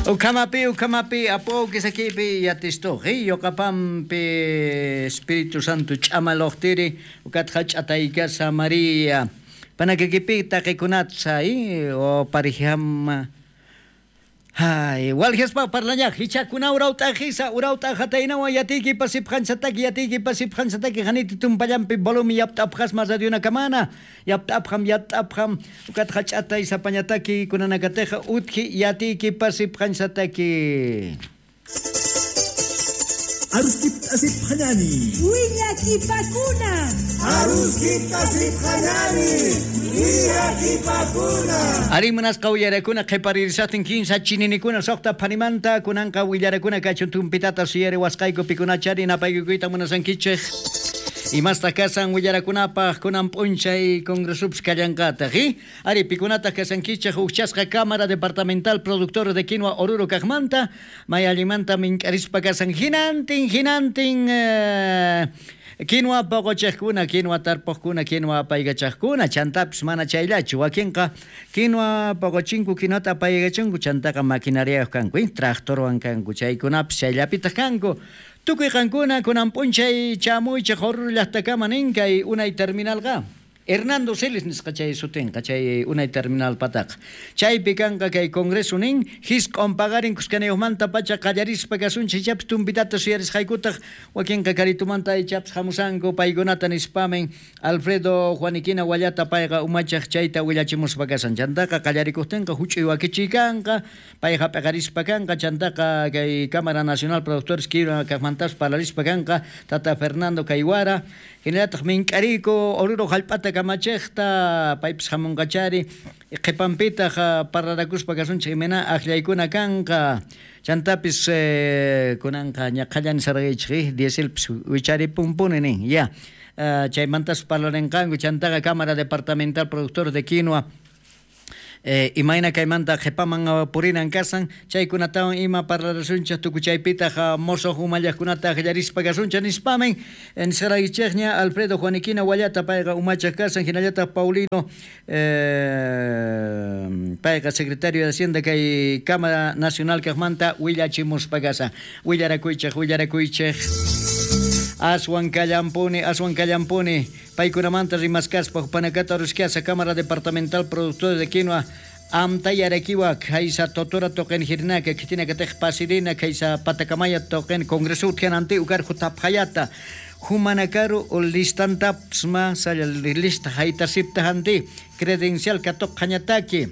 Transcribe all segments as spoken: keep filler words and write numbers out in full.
Ukamapi, ukamapi, apo kisakipi yatistuqi, yoqapampi Espíritu Santo ch'amaloqtiri, ukatqa ch'ataykasa María. Panakikipi taqikunatsa, o parijama. Hay, walgespa parlañaq, hichakuna urawt'aqisa, urawt'aqataynawan yatiyki pasipqansataki, yatiyki pasipqansataki, haniti tumpallampi volumi yapt'apqasma radionakamana, yapt'apqam, yapt'apqam, ukatqa ch'atay sapañataki, kunanakateqa utki yatiyki pasipqansataki. Aruskip asipqanani. Willakipakuna. Aruskip asipqanani. Willakipakuna. Ari munasqa willarakuna qhiparirisaqtin kinsa chininikuna suqta phanimanta kunanqa willarakuna kachun tumpitata suyari wasqayku pikunachari napaykukuyta munasankichik. Imasta kasan willarakunapaq kunan p'unchay congresups kallanqataq, ¿eh? Ari pikunataq kasankichik hukchasqa Cámara Departamental Productor de Quinoa Oruro kaqmanta may allimanta mink'arispa kasan hinantin hinantin eh, quinoa poqochaqkuna, quinoa tarpuqkuna, quinoa apaykachaqkuna, chantapis mana chayllachu wakinqa quinoa poqochinku, quinoata apaykachunku, chantaqa maquinariayuq kanku, ¿eh? Tractorwan kanku, chaykunapis chayllapitaq kanku. Tukuy qankuna kunan p'unchay chamuychik Oruro llaqtakama nin kay unay terminalqa. Hernando Celis nisqa chay sutinqa chay unay terminal pataqa. Chaypi kanqa kay congreso nin hisq'un paqarin kuskanayuqmanta pacha qallarispa kasunchik ichapis tumpitata suyarisqaykutaq wakinqa karitumanta ichapis hamusanku paykunata nispamin Alfredo Juaniquina Wallata payqa umachaq chayta willachimuspa kasan. Chantaqa qallarikuqtinqa huch'uy wakichiy kanqa payqa p'aqarispa kanqa chantaqa kay Cámara Nacional Productores Quinoa kaqmantas parlarispa kanqa Tata Fernando Kayguara hinallataq mink'ariku Oruro hallp'ata kamachiqta paypis hamunqachari qhipanpitaq parlarakuspa kasunchik imena aqllaykuna kanqa chantapis eh, kunanqa ñaqhallani sarqaychik dieselpis wicharipunpuni nin ya uh, chaymantas parlarinqanku chantaqa Cámara Departamental Productor de Quinoa Eh, imayna kaymanta qhipaman uh, purinan kasan chaykunatawan ima parlarasunchik tukuchaypitaq uh, mosoq umallaqkunata aqllarispa kasunchik nispamin nisqaraykichikña Alfredo Juaniquina Wallata payqa umachaq kasan hinallataq Paulino eh, payqa secretario de Hacienda kay Cámara Nacional kaqmanta willachimuspa kasan willarakuychik willarakuychik aswan kallampuni aswan kallampuni paykunamanta rimaskaspa panakata ruskiasa Cámara Departamental Productores de Quinoa amtayarakiwa kaysa totora toqen hirnaka kitina katej pasirina kaysa patakamaya toqen congreso utjananti ukarju tapjayata humanakaru listantapsma salla lista haytasipta hanti credencial katoqjañataki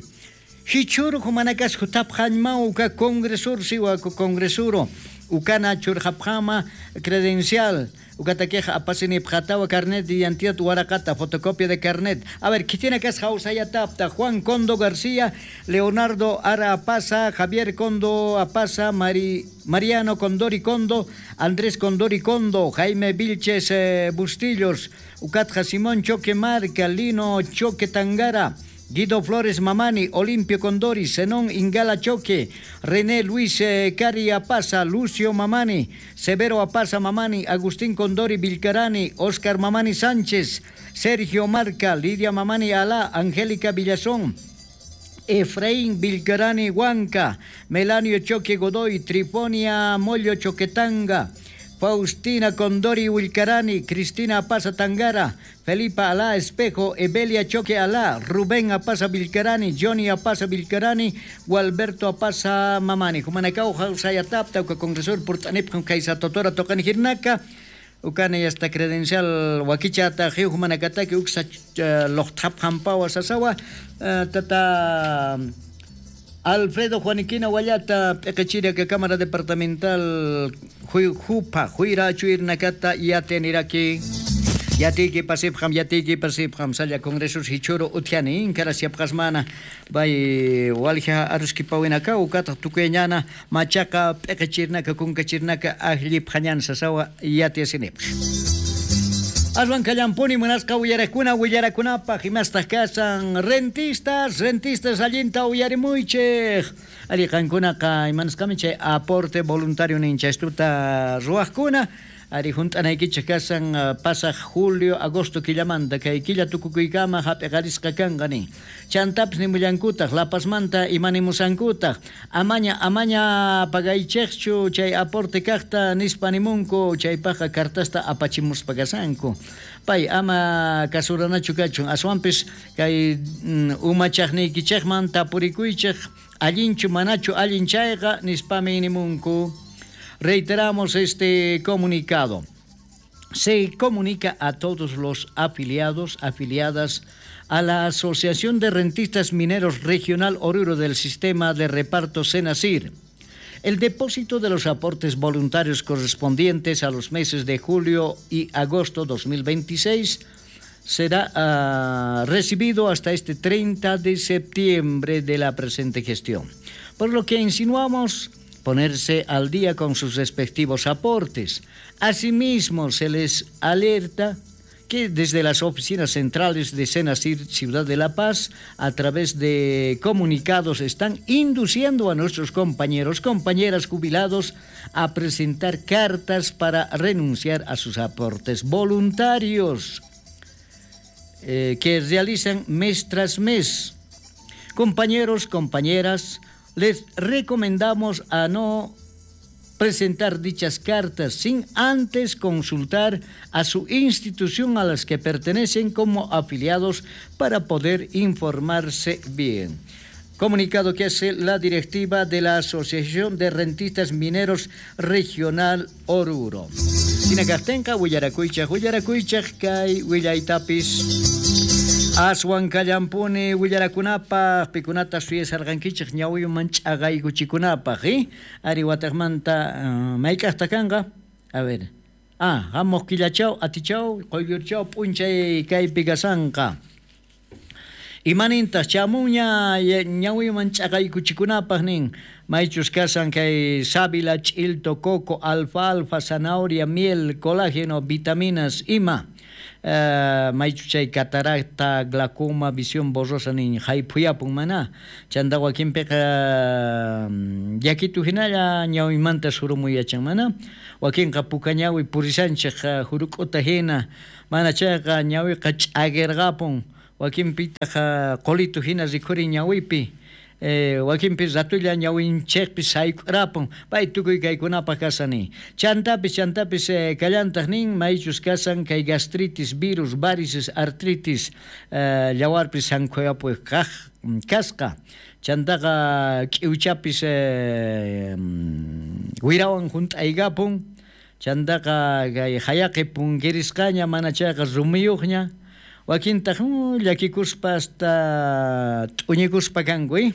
hichuru humanakas jutapjañma uka congresur siwa congresuro ukana churjapjama credencial ukataqueja apasini pjatawa carnet de identidad waraqata fotocopia de carnet. A ver, ¿qué que es Jausayatapta? Juan Condo García, Leonardo Ara Apaza, Javier Condo Apaza, Mari, Mariano Condori Condo, Andrés Condori Condo, Jaime Vilches eh, Bustillos, Ucatja Simón Choque Marca, Lino Choque Tangara, Guido Flores Mamani, Olimpio Condori, Zenón Ingala Choque, René Luis eh, Cari Apaza, Lucio Mamani, Severo Apaza Mamani, Agustín Condori Vilcarani, Oscar Mamani Sánchez, Sergio Marca, Lidia Mamani Alá, Angélica Villazón, Efraín Vilcarani Huanca, Melanio Choque Godoy, Trifonia Mollo Choquetanga, Faustina Condori Wilcarani, Cristina Apaza Tangara, Felipa Alá Espejo, Evelia Choque Alá, Rubén Apaza Vilcarani, Johnny Apaza Vilcarani, Gualberto Apaza Mamani. Jumanacao Jausayatapta, uka congresor Purtanip, Kaisa Totora Tocan Hirnaka, ukana esta credencial wakichata, Jumanacataki, uksa Lochtap Jampawa Sasawa, tata Alfredo Juaniquina Wallata, Pequechira, que Cámara Departamental Jupa, Juira, Chuirnacata, Yateniraki, Yatiki Pasipjam, Yatiki Pasipjam, Salla Congresos Hichuro, Utiani, Incarasiapjasmana, Bay Walja, Aruskipawinaka, Ukata, Tuqueñana, Machaca, Pequechirnaca, Cuncachirnaca, Ajlipjañan, Sasawa, Yatiasinip. Aswan kallampuni munasqa willarakuna willarakunapaq imastaq kasan rentistas rentistas allinta uyarimuychik ari qankunaqa imanasqami chay aporte voluntario ninchaystuta ruwaqkuna Ari junt'anaykichej kasan pasaj julio, agosto killamanta kay killa tukukuykama hap'iqarisqa kanqa nin. Chantapis nimullankutaq La Pazmanta imanimusankutaq amaña amaña pagaychejchu chay aporte kajta nispa nimunku chaypajqa cartasta apachimuspa kasanku. Pay ama kasuranachu kachun aswanpis kay umachajniykichejman tapurikuychej allinchu manachu allin chayqa nispami nimunku. Reiteramos este comunicado. Se comunica a todos los afiliados, afiliadas a la Asociación de Rentistas Mineros Regional Oruro del Sistema de Reparto SENASIR. El depósito de los aportes voluntarios correspondientes a los meses de julio y agosto dos mil veintiséis será uh, recibido hasta este treinta de septiembre de la presente gestión. Por lo que insinuamos ponerse al día con sus respectivos aportes. Asimismo, se les alerta que desde las oficinas centrales de SENASIR Ciudad de La Paz, a través de comunicados, están induciendo a nuestros compañeros, compañeras jubilados a presentar cartas para renunciar a sus aportes voluntarios eh, que realizan mes tras mes. Compañeros, compañeras, les recomendamos a no presentar dichas cartas sin antes consultar a su institución a las que pertenecen como afiliados para poder informarse bien. Comunicado que hace la directiva de la Asociación de Rentistas Mineros Regional Oruro. Sinacajtenca, huillarakuychaj, huillarakuychaj, kay willaytapis. Aswan kallampuni willarakunapaj pikunata suyasarqankichej ñawiyuman ch'aqaykuchikunapaj, eh? Ari wataqmanta uh, mayk'aqta kanqa? A ver. Ah, hamuq killachaw, atichaw, quyllurchaw p'unchay kaypi kasanqa. Imanintaq chamuña ñawiyuman ch'aqaykuchikunapaj nin. Maychus kasan kay sábila, ch'ilto, coco, alfalfa, zanahoria, miel, colágeno, vitaminas, ima. Uh, maychu chay cataracta, glaucoma, visión borrosa nin hayphuyapun mana. Chanta wakinpiqa yakitu hinalla ñawimanta surumuyachan mana. Wakinqa puka ñawi purisanchej juruk'uta hina. Mana chayqa ñawiqa ch'akirqapun. Wakinpitaq qulitu hina rikhurin ñawipi. Eh, wakinpi ratulla ñawinchejpi sayk'urapun pay tukuy kaykunapaj kasani. Chantapis chantapis eh, kallantaq nin maychus kasan kay gastritis, virus, varices, artritis eh, llawarpis sankhuyapuy kaq kasqa. Chantaqa k'iwchapis eh, wirawan junt'aykapun. Chantaqa kay hayaqi punkirisqaña mana chayqa rumiyuqña. Wakintaq llakikuspa hasta t'uñikuspa kanku, eh?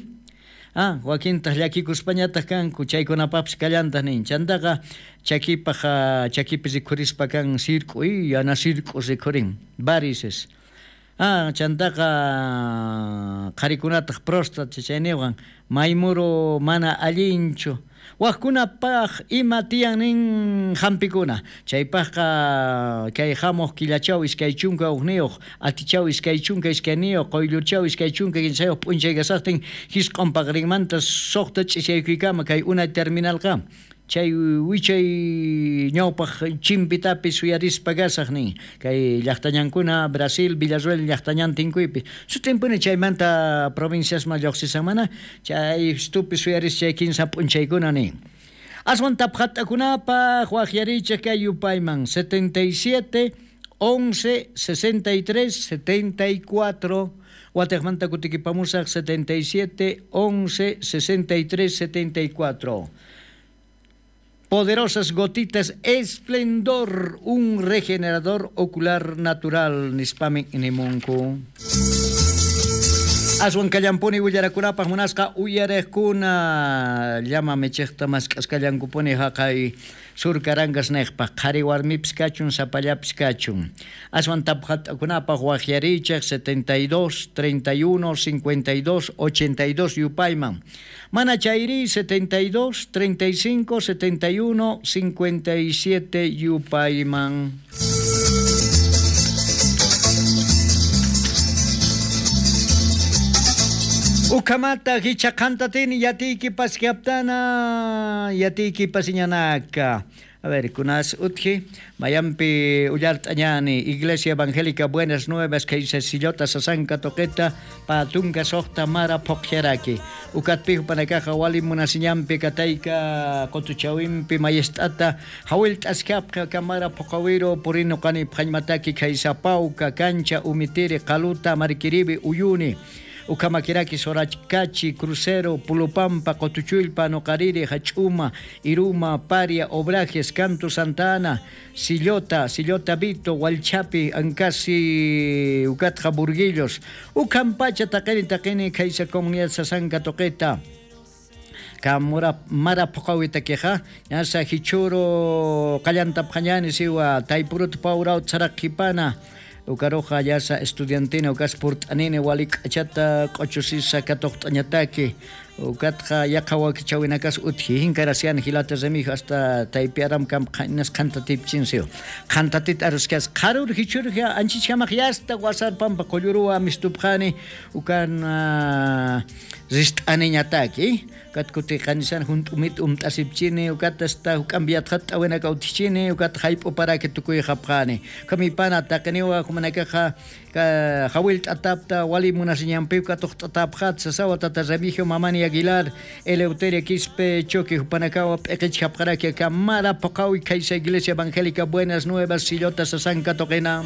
Ah, wakintaq llakikuspañataq kanku chaykunapapis kallantaq nin. Chantaqa chakipaj chakipi rikhurispa kan sirk'u, yana sirk'u rikhurin, varices. Ah, chantaqa qharikunataq próstata chayniwan maymuru mana allinchu. Wajkunapaj ima tiyan nin hampikuna. Chaypajqa kay hamuq killachaw iskay chunka hukniyuq, atichaw iskay chunka iskayniyuq, quyllurchaw iskay chunka kinsayuq p'unchay kasaqtin hisq'un paqarinmanta suqta ch'isaykuykama kay unay terminalqa. Chay wichay ñawpaj chimpitapis suyarispa kasaq nin. Kay llaqtañankuna Brasil, Villarruel llaqtañan tinkuypi. Sutimpuni chaymanta provinciasman lluqsisan mana chay stupi suyaris chay kinsa p'unchaykuna nin. Aswan tapjat'akunapaj waqyarichej kay yupayman setenta y siete, once, sesenta y tres, setenta y cuatro. Wataqmanta kutikipamusaq setenta y siete, once, sesenta y tres, setenta y cuatro. Poderosas gotitas Esplendor, un regenerador ocular natural, nispami nimunku. Aswan kallampuni willarakunapaj munasqa uyarejkuna llama michejta mask'askallankupuni haqay sur Carangas nejpaj qhari warmipis kachun sapallapis kachun. Aswan tapjat'akunapaj waqyarichej setenta y dos, treinta y uno, cincuenta y dos, ochenta y dos yupayman. Mana chayri setenta y dos, treinta y cinco, setenta y uno, cincuenta y siete yupayman. Ukamata hichaqantatini yatiyki paskaptana yatiyki pasiñanaka. A ver, kunas utji, mayampi ullart'añani, Iglesia Evangélica Buenas Nuevas, kaysa sillota sasanka toqeta, patunka soqta mara phoqllaraki. Ukatpijo panakaja wali munasiñampi katayka qotuchawimpi mayest'ata, hawil t'askapqa kamara phoqawiro purino qani phallmataki kaysa pauka, cancha, umitiri, qaluta, marquiribi, uyuni. Ukamakiraki, Sorachcachi, Crucero, Pulupampa, Cotuchulpa, Nocariri, Hachuma, Iruma, Paria, Obrajes, Canto Santa Ana, Sillota, Sillota Vito, Hualchapi, Ancasi, Ucatja, Burguillos, Ucampacha, Taqueni, Taqueni, Kaisa Comunidad Sasanka, Toqueta. Kamura mara phoqawita queja, ñasa hichuro, qallantapqañani siwa, taipurut paurau tsaraqipana. Ukaroja yasa estudiantina ukas purt'anini wali k'achata q'ochusisa katuqt'añataki ukatqa yaqa wakichawinakas utji hinkarasian hilata remijo hasta taypiaram kam qhaninas qhantatipchinsiyo qhantatit aruskas qarur hichurja anchichkamaq yasta wasarpampa qulluruwa mistupqani ukan rist'aniñataki ukat kuti qanisan junt'umit umt'asipchini ukat hasta huk'ambiatqata t'awinaka utjichini ukat hayp'uparaki tukuy qapqani kamipana taqiniwa humanakaqa hawil t'atapta wali munasiñanpi ukatuq t'atapqat sasawa tata Remigio Mamani Aguilar Eleuteria Quispe Choque Jupanakawa p'eqich hapqaraki kamara phoqawi kaysa Iglesia Evangélica Buenas Nuevas Sillota Sasanka Toqena.